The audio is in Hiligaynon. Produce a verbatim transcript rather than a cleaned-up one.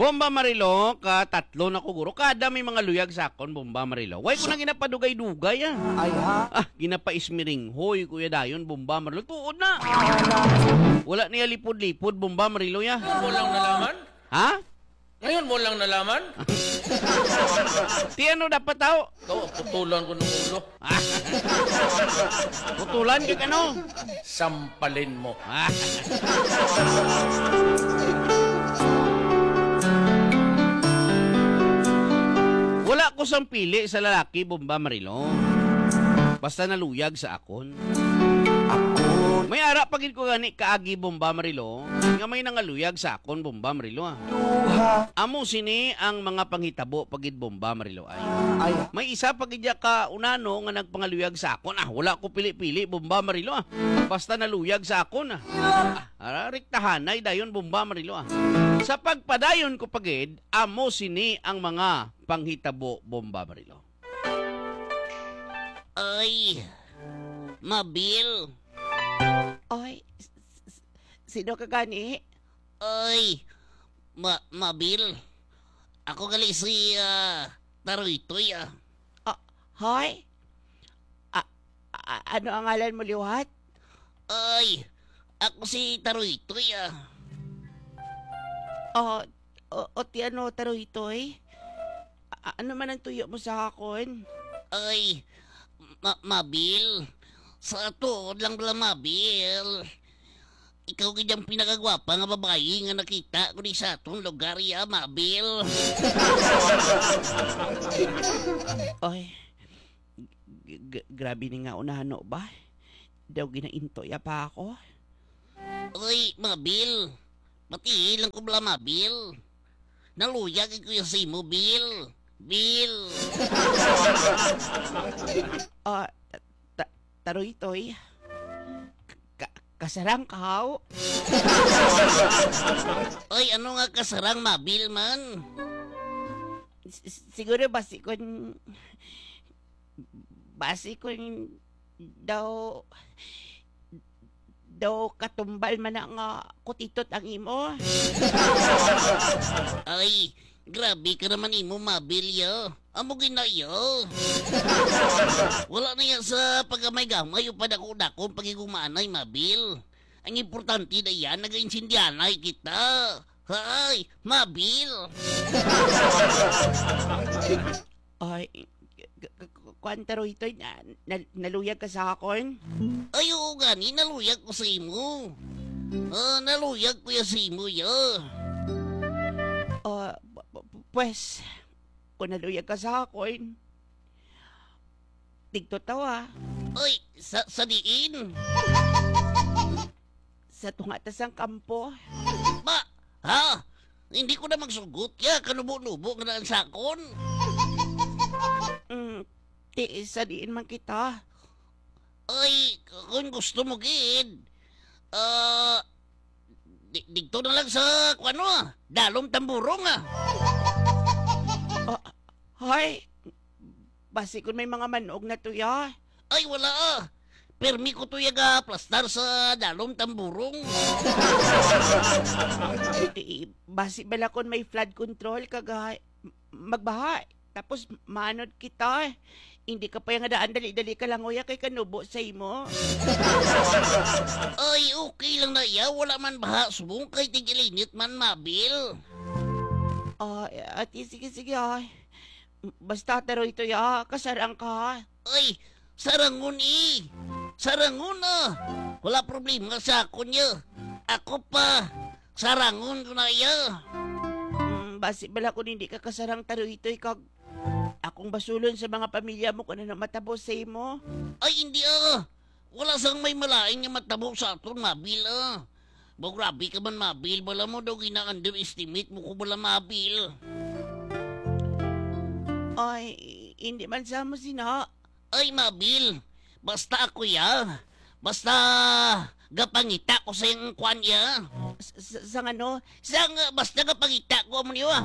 Bomba Marilo, ka tatlo na ko, guro. Kada may mga luyag sa akon, Bomba Marilo. Why ko na ginapadugay-dugay, ah? Ay, ha? Ah, ginapaismiringhoy, Kuya Dayon, Bomba Marilo. Tuod na. Wala niya lipod-lipod, Bomba Marilo, ya. Ngayon mo lang nalaman? Ha? Ngayon mo lang nalaman? Ti ano dapat tao? Ikaw, putulan ko ng ulo. Putulan ka, ano? Sampalin mo. Ah. Wala ko sang pili sa lalaki, Bomba Marilo. Basta naluyag sa akon. May ara pa gid ko gani kaagi, Bomba Marilo, nga may nangaluyag sa akon, Bomba Marilo, ah. Amo sini ang mga panghitabo pa gid, Bomba Marilo, ay. Ay. May isa pa gid ya ka unano nga nagpangaluyag sa akon. Ah, wala ko pili-pili, Bomba Marilo, ah. Basta naluyag sa akon, ah. Ah, ara, riktahanay dayon, Bomba Marilo, ah. Sa pagpadayon ko pa gid, amo sini ang mga panghitabo, Bomba Marilo. Ay, Mabil. Ay, s-, s-, sino ka gani? Ay, Ma-, Mabil. Ako gali si, ah, Taroytoy, ah. Ah, hoy? Ah, ah, ano ang ngalan mo liwat? Ay, ako si Taroytoy, ah. Ah, o, o ti ano, Taroytoy? A-, ano man ang tuyo mo sa akon? Ay, Ma-, Mabil. Sa tuod lang bala, Mabil. Ikaw gid ang pinakagwapa nga babayi nga nakita ko di sa atong lugar, ya, Mabil. Oy, g-, g-, grabe ni nga unano ba? Daw ginaintoya pa ako. Oy, Mabil. Pati lang ko bala, Mabil. Naluyag ko ya sa imo, Bil. Bil. Ah, ta-, ta-, Taroytoy. Ka-, kasarang ka, haw? Oy, ano nga kasarang, Mabil man? S-, s-, siguro basi kun, basi kun daw, daw katumbal man na nga kutitot ang imo. Ay, grabe ka naman imo, Mabil, ya. Amo gid na, ya. Wala na ya sa paggamay-gamay o padako-dakong pagigumanay, Mabil. Ang importante na yan, nagaintindihanay kita. Hay, Mabil. Ay, k-, k-, k-, kuwan, Taroytoy, na, na, naluyag ka sa akon? Ay, oo gani, naluyag ko sa imo. Ah, naluyag ko ya sa imo, ya. Ah, p-, p-, p-, pwes, kung naluyag ka sa akon, tigto tawa. Ay, sa, sa diin? Sa tunga ta sang kampo. Ba? Ha? Hindi ko na magsugot ya, kanubo-nubo nga naan sakon. Mm, ti, sa diin man kita? Ay, kung gusto mo gid, ah, di, digto na lang sa, kuwan, ah, Dalom Tamburong, ah. Ah, hay, basi kun may mga manog na to, ya. Ay, wala, ah. Permi ko to ya ga-aplastar sa Dalom Tamburong. Eh, basi bala kun may flood control kag, ah, magbaha, tapos maanod kita. Hindi ka pa ya nga daan dali-dali ka langoy, ah, kay kanubo sa imo. Ay, okay lang na ya. Wala man baha subong kay tig-ilinit man, Mabil. Ah, ati, sige, sige, ah. Basta, Taroytoy, ah, kasarang ka. Ay, sarangon, eh. Sarangon, ah. Wala problema sa akon, ya. Ako pa, sarangon ko na, ya. Mm, basi bala kung hindi ka kasarang, Taroytoy, kag akong basulon sa mga pamilya mo kung ano matabo sa imo. Ay, hindi, ah. Wala sang may malain nga matabo sa aton, Mabil, ah. Ba, grabe ka man, Mabil. Bala mo daw gina-underestimate mo ko bala, Mabil. Ay, hindi man sa mo sina. Ay, Mabil. Basta ako, ya. Basta gapangita ko sa iyang kwan, ya. S-, s-, sang ano? Sang, basta gapangita ko, amo niyo, ah.